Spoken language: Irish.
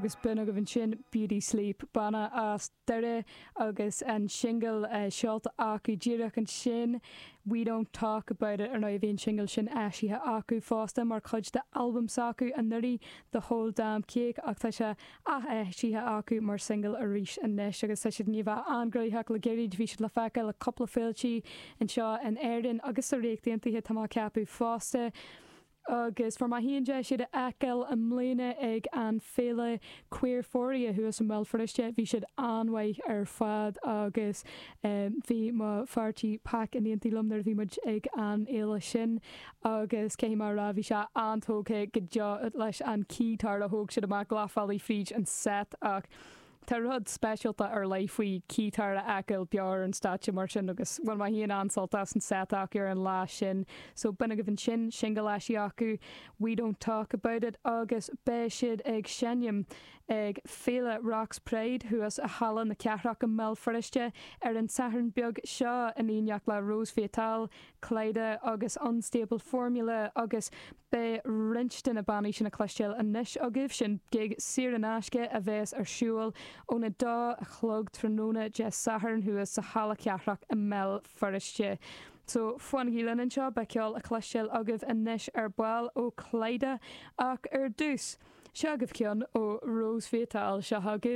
Agus b'in agaibh ansin Beauty Sleep, banna as Doire agus an singil seolta acu díreach ansin, We Don't Talk About It. Ar ndóigh bhí an singil sin eisithe acu fosta mar chuid d'albam s'acu anuraidh, The Whole Damn Cake, ach tá sé ath-eisithe acu mar singil arís anois agus tá siad i ndiaidh a bheith an-ghnoitheach le gairid. Bhí siad le feiceáil ag cúpla féiltí anseo in Éirinn agus sa Ríocht Aontaithe tá mé ag ceapadh fosta. Agus fuair mé féin deis iad a fheiceáil i mbliana ag an féile Queerphoria thuas i mBéal Feirste. Bhí siad an-mhaith ar fad agus bhí mo fear tí Pac in éindí liom nuair a bhí muid ag an fhéile sin agus caithfidh mé a rá bhí sé an-tógtha go deo leis an keytar a thóg siad amach leathbhealaigh fríd an set ach Tá rud speisialta ar leith faoi keytar a fheiceáil beo ar an stáitse mar sin agus bhain mé féin an-sult as an set acu ar an lá sin. So b'in agaibh ansin, singil eisithe acu, We Don't Talk About It agus beidh siad ag seinm ag Féile Rock's Pride thuas i Halla na Cathrach i mBéal Feirste ar an Satharn beag seo in éineacht le Rose Fatale, Klaida agus Unstable Formula agus beidh roinnt de na bannaí sin a chloisteáil anois agaibh. Sin gig saor in aisce a bheas ar siúl óna dó a chlog tráthnóna Dé Sathairn thuas sa Halla Cathrach i mBéal Feirste. So, fanaigí linn anseo, beidh ceol a chloisteáil agaibh anois ar ball ó Klaida ach ar dtús, seo agaibh ceann ó Rose Fatale. Seo agaibh.